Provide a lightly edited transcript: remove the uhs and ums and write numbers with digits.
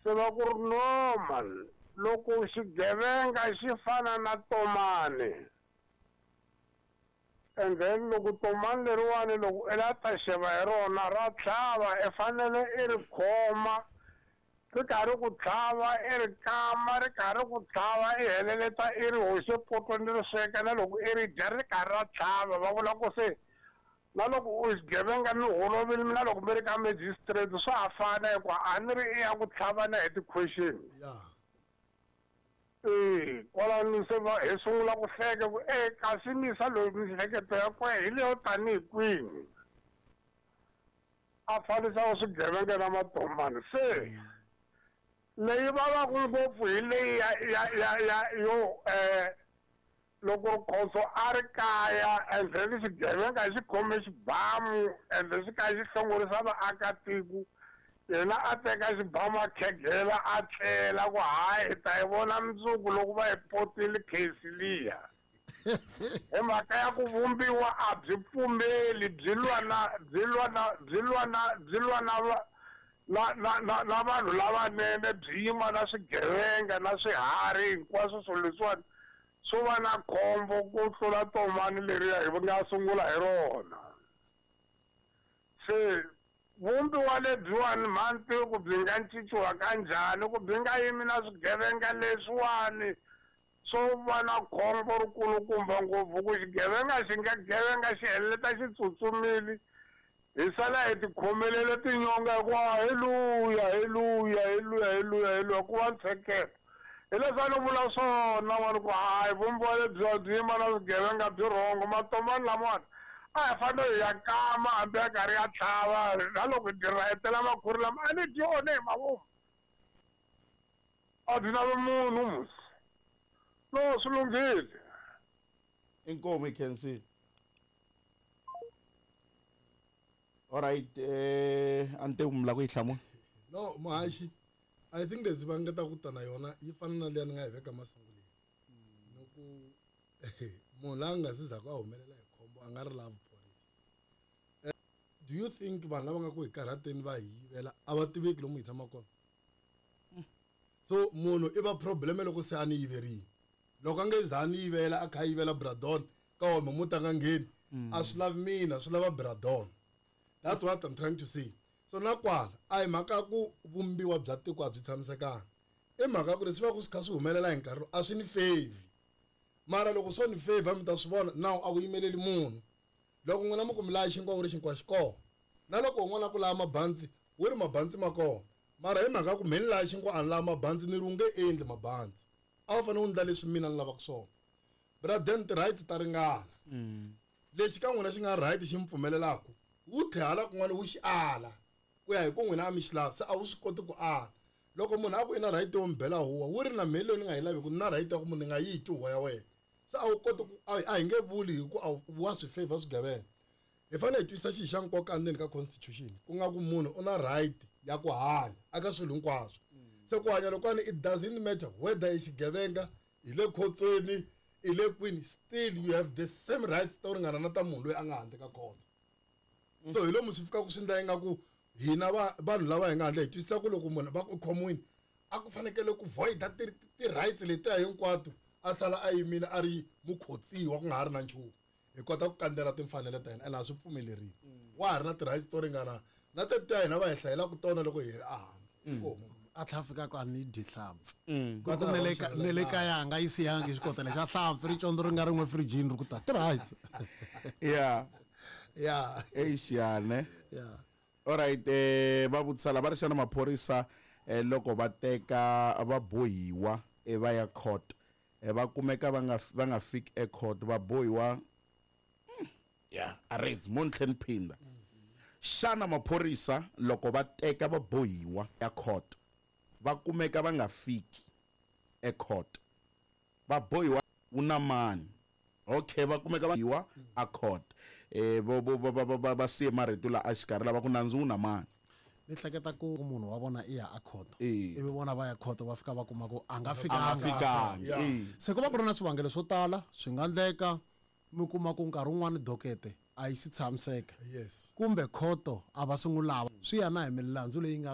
Se va ku ri no man, loko xigevenga xi fana na tomani, and then loko tomani leriwani loko i la ta xeva hi rona ra tlhava, i fanele i ri khoma ri karhi ku tlhava, i ri kama ri karhi ku tlhava, i heleleta i ri hoxe potweni ri sweka, na loko i ri dya ri karhi ra tlhava. Va vula ku se na loko u xigevenga mi holovile, na loko mi ri ka magistrate swa ha fana, hikuva a ni ri i ya ku tlhavana hi ti-question. Ee, kwalano se va hi sungula ku hleka ku e kasi misa loyi miehleketo ya kwehe hi leyo tanihi kwini, a fanisa swigevenga na matomani. Se leyi vavaku ngopfu hi leyi ya yo loko Rikhotso a ri kaya and then xigevenga xi khome xibamu and then xi kha xi hlongorisa vaakatiko, yena a teka xibamu a khegela a tlela ku hayi hi ta yi vona mundzuku loko va yi potile case liya. Hi mhaka ya ku vumbiwa a byi pfumeli, byi lwa na, byi lwa na, byi lwa na, byi lwa na va, na, na, na, na vanhu lavanene, byi yima na swigevenga na swiharhi hinkwaswo swilo leswiwani swo va na khombo ku tlula tomani leriya hi nga sungula hi rona. Se vumbiwa lebyiwani mhani tivi ku byi nga cinciwa kanjhani, ku byi nga yimi na swigevenga leswiwani swo va na khombo rikulukumba ngopfu, ku xigevenga xi nga gevenga xi heleleta xi tsutsumile, hi sala hi tikhomelele tinyonga hikuva hi luya, hi luya, hi luya, hi luya, hi luya, ku va ntsheketo. Hi leswi a ni vula swona n'wana ku hayi vumbiwa lebyiwa byi yima na swigevenga byi rhongo. Matomani lamawani a hi fanele hi ya kama hambi ya karhi ya tlhava, na loko hi dyi rhayetela makhuri lama a ni dyi one hi mavomu, a byi lavi munhu musi. No, swi lunghile. Inkomu hi khensile. All right, a ni te mi lava ku yi hlamula. No, Muhaxi, I think leswi va nga ta ku ta na yona yi fana na liya ni nga yi veka masunguleni. Ni ku munhu la nga si zaku a humelela hi khombo a nga ri lavi phorisa. Do you think vanhu lava nga ku hi karhateni va hi yivela a va tiveki lomu hi tshamaka kona? So munhu i va problem loko se a ni yiverile. Loko a nge za a ni yivela a kha a yivela Bradon ka wona muti a nga ngheni, a swi lavi mina, swi lava Bradon. That's what I'm trying to say. So na kwala a hi mhaka ku vumbiwa bya tiko a byi tshamisekanga, i mhaka ku leswi va ku swi kha swi humelela hi nkarhi a swi ni favor. Mara loko swo ni favor mi ta swi vona now a ku yimeleli munhu. Loko n'wina mi ku mi laya xinkwa wu ri xinkwa xi kona, na loko un'wana a ku laya mabantsi wu ri mabantsi ma kona, mara hi mhaka ku me ni laya xinkwa a ni laya mabantsi, ni ri u nge endli mabantsi, a wu fanele u endla leswi mina ni lavaka swona. Braden, ti-rights ta ringana. Lexi ka n'wina xi nga right xi mi pfumelelaka, wu tlhe hala kun'wana wu xi ala ku ya hi ku n'wina a mi xi lavi, se a wu swi koti ku ala. Loko munhu a ku i na right yo mi bela huwa, wu ri na mheli leyi ni nga yi laveki, ni na right ya ku munhu ni nga yi twi huwa ya wena. Se a wu koti ku, a hi nge vuli hi ku a wa swi favor swigevenga. Hi fanele hi twisisa xilo xa nkoka endzeni ka constitution, ku nga ku munhu u na right ya ku hanya aka swilo hinkwaswo. Se ku hanya lokwani it doesn't matter whether i xigevenga, hi le khotsweni, i le kwini, still you have the same rights to ringana na ta munhu loyi a nga handle ka khotso. So hi lomu swi fikaka swi endla ingaku hina vanhu lava hi nga handle hi twisisa ku loko munhu va ku khomiwini a ku fanekele ku voida ti-rights letiya hinkwato, a sala a yimile a ri mukhotsiwa ku nga ha ri na nchumu. Hi kota ku kandzela timfanelo ta hina ene a swi pfumeleriwi. Wa ha ri na ti-rights to ringana na tetiya hina va hi hlayelaka tona loko hi ri ehandle. A tlhela a fika ku a ni dyi hlampfi. Ku ku ne le kaya a nga yi siyangi xikotela xa hlampfi, ri condzo ri nga rin'we firijini ri ku ta ti-rights. Eish, ya, ne? All right, va vutisa la va ri xana maphorisa loko va teka va bohiwa va ya court, va kumeka va nga fiki e court, va bohiwa, ya, a ri mo ni tlhe ni phinda. Xana maphorisa loko va teka va bohiwa ya court, va kumeka va nga fiki e court, va bohiwa wu na mani? Okay, va kumeka va bohiwa a court. Vo, vo, vo, va, va, va siye marito la a xikarhi lava ku nandzu wu na mani. Ni hleketa ku munhu wa vona i ya a court. Ivi vona va ya court va fika va kuma ku a nga A nga fikanga. fikangi. Se ku va ku ri na swivangelo swo tala, swi nga endleka mi kuma ku nkarhi wun'wani dokete a yi si tshamiseka. Kumbe khoto a va swi n'wi lava. Swi ya na hi milandzu leyi nga